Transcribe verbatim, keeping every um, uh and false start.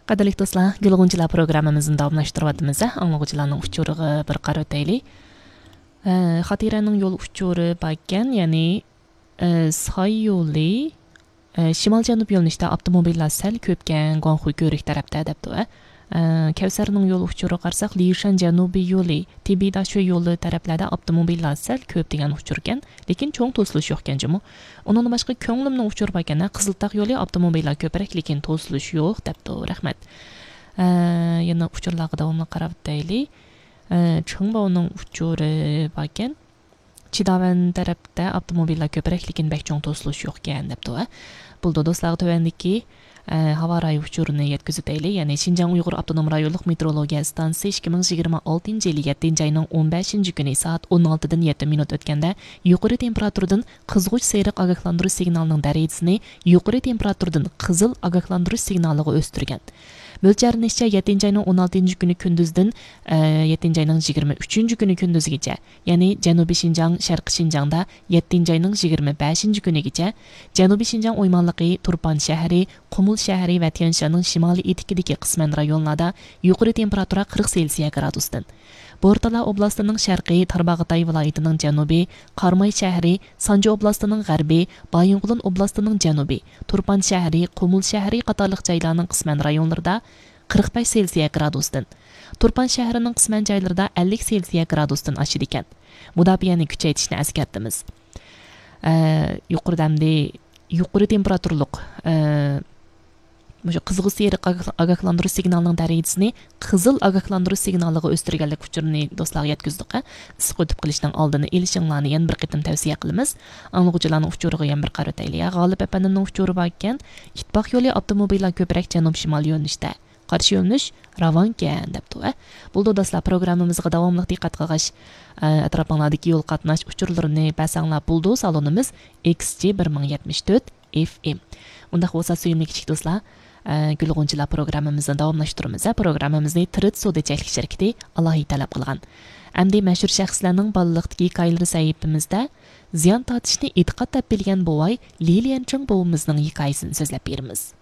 قەدىرلىك دوستلار، گۈل غۇنچىلار پروگراممىمىزنى داۋاملاشتۇرۇۋاتىمىز. ئاڭلىغۇچىلارنىڭ ئۇچۇرىغا بىر قارىۋېتەيلى. ئە، خاتىرەنىڭ يول ئۇچۇرى باركەن، يەنى، ئە، ساي يولى، ئە، شىمال جەنۇب يۆنىلىشتە ئاپتوموبىللار سەل كۆپكەن، گۇاڭخۇي كۆۋرۈك تەرەپتە دەپتۇ. ئە، كەۋسەرنىڭ يول ئۇچۇرىغا قارىساق، لىشەن جەنۇبىي يولى، تىبىداشۆ يولى تەرەپلەردە ئاپتوموبىللار سەل كۆپ دېگەن ئۇچۇركەن. لېكىن چوڭ توسۇلۇش يوقكەن جۇمۇ. ئۇنىڭدىن باشقا كۆڭلۈمنىڭ ئۇچۇرى باركەن، قىزىلتاغ يولى ئاپتوموبىللار كۆپرەك، لېكىن توسۇلۇش يوق دەپتۇ. رەھمەت. ئە، يەنە ئۇچۇرلارغا داۋاملىق قاراپ ئۆتەيلى. ئە، چېڭباۋنىڭ ئۇچۇرى باركەن. چىداۋەن تەرەپتە ئاپتوموبىللار كۆپرەك، لېكىن بەك چوڭ توسۇلۇش يوقكەن دەپتۇ. ئە، بولىدۇ دوستلارغا تۆۋەندىكى ئە، ھاۋا رايى ئۇچۇرىنى يەتكۈزۈۋېتەيلى. يەنى شىنجاڭ ئۇيغۇر ئاپتونوم رايونلۇق مېتېئورولوگىيە ئىستانسىسى ئىككى مىڭ يىگىرمە ئالتىنچى يىلى يەتتىنچى ئاينىڭ ئون بەشىنچى كۈنى سائەت ئون ئالتىدىن يەتتە مىنۇت ئۆتكەندە يۇقىرى تېمپېراتۇرىدىن قىزغۇچ سېرىق ئاگاھلاندۇرۇش سىگنالىنىڭ دەرىجىسىنى يۇقىرى تېمپېراتۇرىدىن قىزىل ئاگاھلاندۇرۇش سىگنالىغا ئۆستۈرگەن. مۆلچەرلىنىشىچە، يەتتىنچى ئاينىڭ ئون ئالتىنچى كۈنى كۈندۈزدىن، ئە، يەتتىنچى ئاينىڭ يىگىرمە ئۈچىنچى كۈنى كۈندۈزىگىچە، يەنى جەنۇبىي شىنجاڭ، شەرقىي شىنجاڭدا يەتتىنچى ئاينىڭ يىگىرمە بەشىنچى كۈنىگىچە، جەنۇبىي شىنجاڭ ئويمانلىقى، تۇرپان شەھىرى، قۇمۇل شەھىرى ۋە تيەنشاننىڭ شىمالىي ئېتىكىدىكى قىسمەن رايونلاردا يۇقىرى تېمپېراتۇرا قىرىق سېلسىيە گرادۇستىن، بورتالا ئوبلاستىنىڭ شەرقىي، تارباغاتاي ۋىلايىتىنىڭ جەنۇبى، قاراماي شەھىرى، سانجى ئوبلاستىنىڭ غەربى، بايىنغولىن ئوبلاستىنىڭ جەنۇبى، تۇرپان شەھىرى، قۇمۇل شەھىرى قاتارلىق جايلارنىڭ قىسمەن رايونلىرىدا قىرىق بەش سېلسىيە گرادۇستىن، تۇرپان شەھىرىنىڭ قىسمەن جايلىرىدا ئەللىك سېلسىيە گرادۇستىن ئاشىدىكەن. مۇداپىئەنى كۈچەيتىشنى ئەسكەرتىمىز. ئە، يۇقىرىدا ئەمدى يۇقىرى تېمپېراتۇرلۇق، ئە، مۇشۇ قىزغۇچ سېرىق ئاگاھ-، ئاگاھلاندۇرۇش سىگنالىنىڭ دەرىجىسىنى قىزىل ئاگاھلاندۇرۇش سىگنالىغا ئۆستۈرگەنلىك ئۇچۇرىنى دوستلارغا يەتكۈزدۇق. ئىسسىق ئۆتۈپ قېلىشنىڭ ئالدىنى ئېلىشىڭلارنى يەنە بىر قېتىم تەۋسىيە قىلىمىز. ئاڭلىغۇچىلارنىڭ ئۇچۇرىغا يەنە بىر قارىۋېتەيلى. غالىپ ئەپەندىمنىڭ ئۇچۇرى باركەن، ئىتتىپاق يولى ئاپتوموبىللار كۆپرەك جەنۇب شىمال يۆنىلىشتە. قارشى يۆنىلىش راۋانكەن دەپتۇ. ئە، بولدى دوستلار، پروگراممىمىزغا داۋاملىق دىققەت قىلغاچ، ئە، ئەتراپىڭلاردىكى يول قاتناش ئۇچۇرلىرىنى بەرسەڭلار بولدى. سالونىمىز ئېكس جى بىر مىڭ يەتمىش تۆت ئېف ئېم. ئۇنداق بولسا، سۆيۈملۈك كىچىك دوستلار، ئە، گۈل غۇنچىلار پروگراممىمىزنى داۋاملاشتۇرىمىز. ئە، پروگراممىمىزنى تىرىت سودا چەكلىك شىركىتى ئالاھىدە تەلەپ قىلغان. ئەمدى مەشھۇر شەخسلەرنىڭ بالىلىقتىكى ھېكايىلىرى سەھىپىمىزدە زىيان تارتىشنى ئېتىقاد دەپ بىلگەن بوۋاي لى ليەنچىڭ بوۋىمىزنىڭ ھېكايىسىنى سۆزلەپ بېرىمىز.